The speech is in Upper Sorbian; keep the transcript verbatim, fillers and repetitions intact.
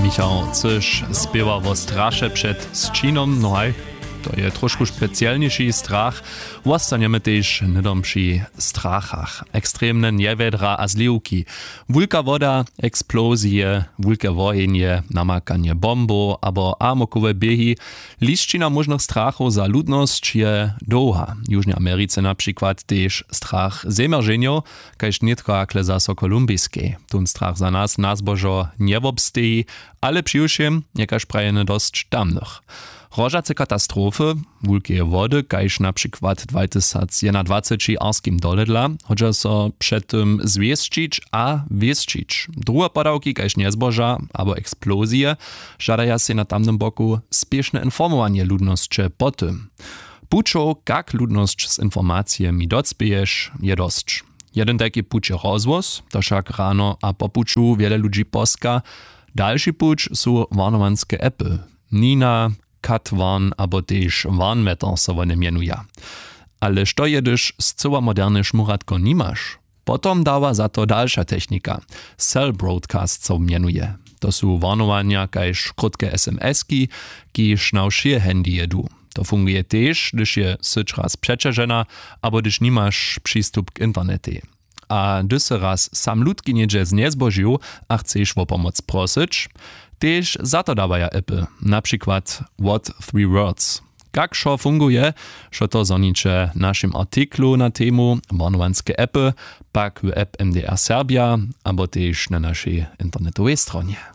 Michał cyš spěwa wo straše před sćinom, no haj, to je trošku specielniši strach. Wostanjemy tež hnydom při strachach. Ekstremne njewjedra a zliwki, wulka woda, eksplozije, wulke wohenje, namakanje bombow abo amokowe běhi. Lisćina móžnych strachow za ludnosć je dołha. W južnej americe na přikład tež strach zemjerženjow, kaž nětko hakle zaso w kolumbiskej. Tón strach za nas na zbožo njewobsteji, ale přiwšěm je kaž prajene dosć tamnych. Hrožace katastrofy, wulkeje wody kaž na přikład dwatysacjednadwaceći w arskim doledla, hodźa so před tym zwěsćić a wěsćić. Druhe podawki kaž njezboža abo eksplozije žadaja sej na tamnym boku spěšne informowanje ludnosće po tym. Pućow, kak ludnosć z informacijemi docpěješ, je dosć. Jedyn tajki puć je rozhłos, to wšak rano a po puću wjele ludźi poska. Dalši puć su warnowanske appy. Nina, Katwarn abo tež Warnmeter so wone mjenuja. Ale što je, hdyž scyła moderne šmuratko nimaš? Potom dawa za to dalša technika. Cell broadcast so mjenuje. To su warnowanja kaž krótke smski, kiž na wšě handyje du. To funguje tež, hdyž je syć raz přećažena abo hdyž nimaš přistup k internetej. A hdyž sy raz sam lutki něhdźe znjezbožił a chceš wo pomoc prosyć, tež za to dawaja appy, na přikład What Three Words. Kak wšo funguje, wšo to zhoniće w našim artiklu na temu warnowanske appy, pak w app mdr serbja abo tež na našej internetowej stronje.